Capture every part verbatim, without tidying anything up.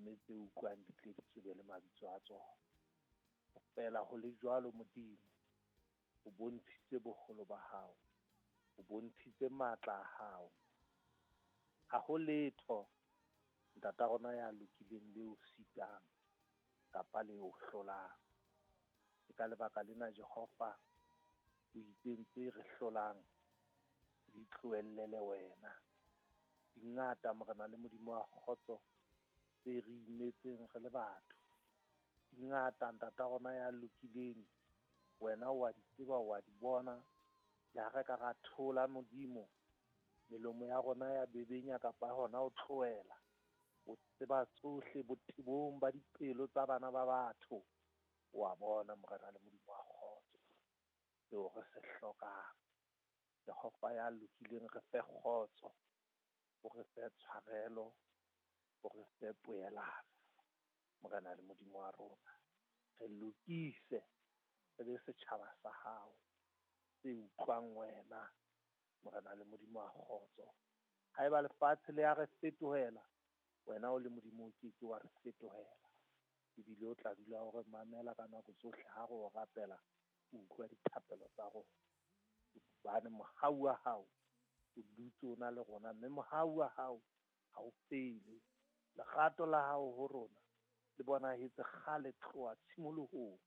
Mme tse utlwang di tle di tsebe le mabitso a tsona. Feela ho le jwalo Modimo, o bontshitse boholo ba hao, o bontshitse matla a hao. Ha ho letho ntata rona ya lokileng le o sitang kapa le o hlolang. Ke ka lebaka lena Jehova o itseng tse re hlolang di tlohellele wena. Di ngata Morena le Modimo wa kgotso tse re imetseng re le batho. Di ngata ntata rona ya lokileng, wena o a di tseba, o a di bona. Le ha re ka ra thola Modimo, melomo ya rona ya bebenya kapa hona ho tlohela. O tseba tsohle botebong ba dipelo tsa bana ba batho. O a bona Morena le Modimo wa kgotso seo re se hlokang. Jehova ya lokileng, re fe kgotso, o re fe tshwarelo, o re fe poelano. Morena le Modimo wa rona, re lokise, re be setjhaba sa hao se utlwang wena, Morena le Modimo wa kgotso. Haeba lefatshe le ya re fetohela, wena o le Modimo o ke ke wa re fetohela. Ebile o tla dula o re mamela ka nako tsohle ha re o rapela, o utlwa dithapelo tsa rona. Hobane mohau wa hao o dutse o na le rona, mme mohau wa hao ha o fele. Lerato la hao ho rona le bonahetse kgale tloha tshimolohong.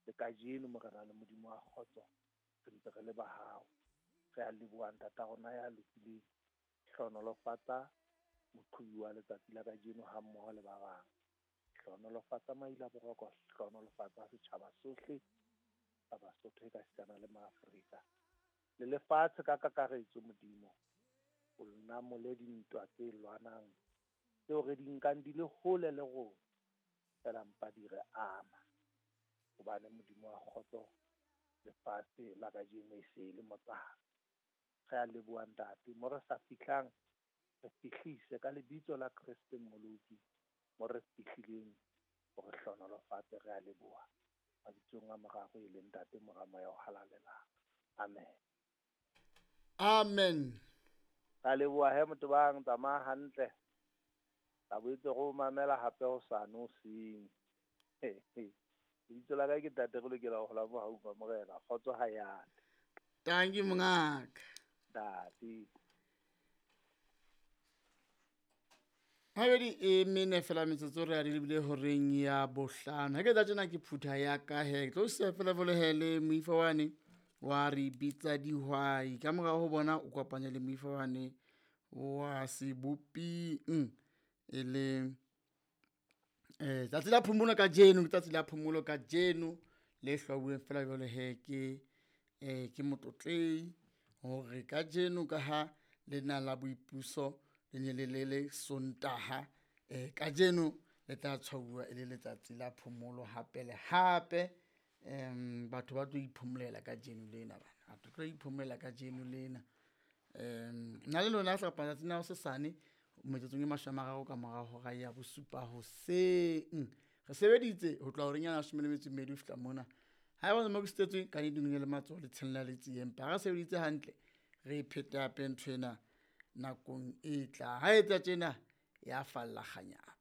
Le kajeno Morena le Modimo wa kgotso, re ntse re le ba hao. Re a leboha ntata rona ya lokileng. Hlohonolofatsa moqhobi wa letsatsi la kajeno ha mmoho le ba bang. Hlohonolofatsa maila boroko, hlohonolofatsa setjhaba sohle sa Basotho ekasitana le Maafrika. Le lefatshe ka kakaretso Modimo, o namole dintwa tse lwanang tseo re di nkang di le hole le rona, feela mpa di re ama. Hobane Modimo wa kgotso, lefatshe la kajeno e se e le motsana. Re a leboha ntate, mo re sa fihlang re fihlise ka lebitso la Kreste Mmoloki, mo re fihlileng o re hlohonolofatse. Re a leboha mabitsong a mararo e leng Ntate, Mora, Moya o Halalelang. Amen. Amen. Ra leboha he motho bang, tsamaya hantle. Tla boetse re o mamela hape hosane hoseng. Lebitso la ka ke Ntate re lokela ho hola mohaung wa Morena. Kgotso ha e ate. Tanki mongaka. Ntate. Habedi e mene fela metsotso re a di lebile horeng ya bohlano. Ha ke tla tjena ke phutha ya ka he. Ke tlo siya fela jwale he le moifa wane wa re bitsa dihwai. Ka mora ho bona o kopanye le moifa wane wa seboping e le eh tsatsi la phomolo kajeno, ke tsatsi la phomolo kajeno le hlwauweng fela jwale he ke eh ke motlotlei hore kajeno ka ha lena la boipuso le ne le le le Sontaha, eh kajeno le tla tshwauwa e le letsatsi la phomolo hape le hape. Em batho ba tlo iphomolela kajeno lena bana, batho tlo iphomolela kajeno lena. Em nna le lona hlapa tsatsing la hosesane metsotsong e mashome a mararo ka mora hora ya bosupa hoseng. Re sebeditse ho tloha horeng ya leshome le metso e mmedi ho fihla mona. Haeba o mo ke sitetswe ka nnete le matsoho le tshella le tsiye, empa ha re sebeditse hantle re phete hape ntho ena nakong e tlang. Ha etsa tjena ya falla kganyapa.